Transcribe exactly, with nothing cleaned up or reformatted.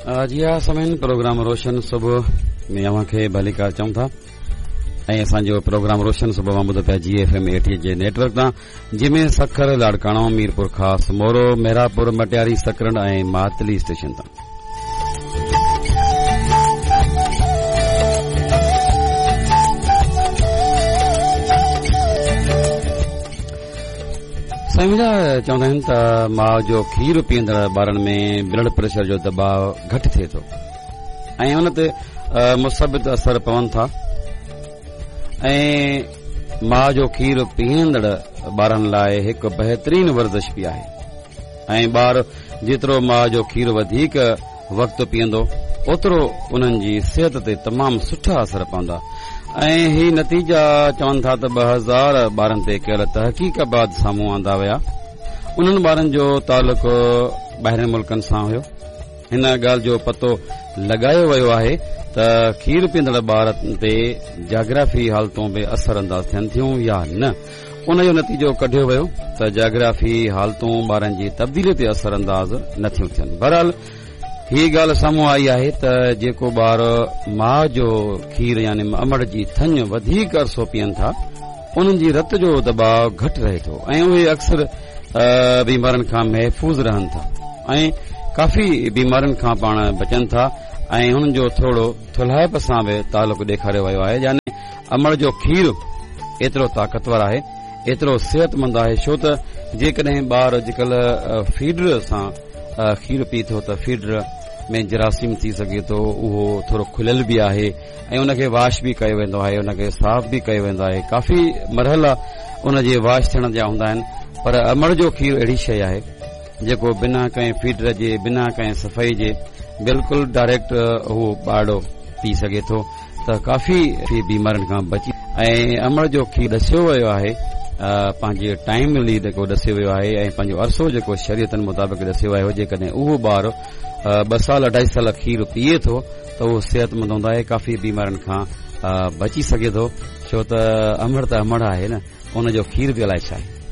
जी हा सामीन, प्रोग्राम रोशन सुबह में अव्हां खे भलीकार चऊं था ऐं असांजो प्रोग्राम रोशन सुबह मां ॿुधो पिया जी एफ एम एटीह जे नेटवर्क तां, जंहिंमें सखर, लाड़काणो, मीरपुर ख़ास, मोरो, मेहरापुर, मटियारी, सकरंड ऐं मातली स्टेशन तां। साईं मुंहिंजा, चवंदा आहिनि त माउ जो खीर पीअंदड़ ॿारनि में ब्लड प्रेशर जो दबाव घटि थिए थो ऐं उन ते मुस्बित असर पवनि था ऐं माउ जो खीर पीअंदड़ ॿारनि लाइ हिकु बहितरीन वर्ज़िश बि आहे ऐं ॿार जेतिरो माउ जो खीर वधीक वक़्तु पीअंदो ओतिरो उन्हनि जी सिहत ते तमामु सुठा असर पवंदा। ऐं ही नतीजा चवनि था त ॿ हज़ार ॿारनि ते कयल तहक़ीक़ बाद साम्हूं आंदा विया। उन्हनि ॿारनि जो तालुक ॿाहिरियुनि मुल्कनि सां हुयो। हिन ॻाल्हि जो पतो लॻायो वियो आहे त खीर पीअंदड़ ॿार ते जाग्राफी हालतूं बि असर अंदाज़ थियनि थियूं या न। उन जो नतीजो कढियो वियो त जाग्राफी हालतूं ॿारनि जी तब्दीली ते असर अंदाज़ नथियूं थियनि। बहरहाल हीअ ॻाल्हि साम्हूं आई आहे त जेको ॿार माउ जो खीर यानी अमड़ जी थञ वधीक अरसो पीअनि था उन्हनि जी रत जो दबाव घटि रहे थो ऐं उहे अक्सर बीमारियुनि खां महफ़ूज़ रहनि था ऐं काफ़ी बीमारियुनि खां पाण बचनि था ऐं हुननि जो थोरो थुल्हाइप सां बि तालुक ॾेखारियो वियो आहे। यानी अमड़ जो खीर एतिरो ताक़तवर आहे, एतिरो सिहतमंद आहे, छो त जेकॾहिं ॿार अॼुकल्ह फीडर सां खीर पी थो त फीडर में जरासीम थी सघे थो, उहो थोरो खुलियल बि आहे ऐं उनखे वॉश बि कयो वेंदो आहे, उनखे साफ़ बि कयो वेंदो आहे। काफ़ी मरहला उनजे वॉश थियण जा हूंदा आहिनि, पर अमड़ जो खीर अहिड़ी शइ आहे जेको बिना कंहिं फीडर जे, बिना कंहिं सफ़ाई जे बिल्कुलु डायरेक्ट उहो ॿारड़ो पी सघे थो त काफ़ी बीमारियुनि खां बची। ऐं अमड़ जो खीर ॾसियो वियो आहे, पंहिंजे टाइमली जेको ॾसियो वियो आहे ऐं पंहिंजो अरसो जेको शरीयतनि मुताबिक़ ॾसियो वियो आहे, जेकॾहिं उहो ॿार ॿ साल अढाई साल खीर पीए थो त उहो सिहतमंद हूंदो आहे, काफ़ी बीमारियुनि खां बची सघे थो। छो त अमड़ त अमड़ आहे न, उनजो खीर बि अलाए छा आहे।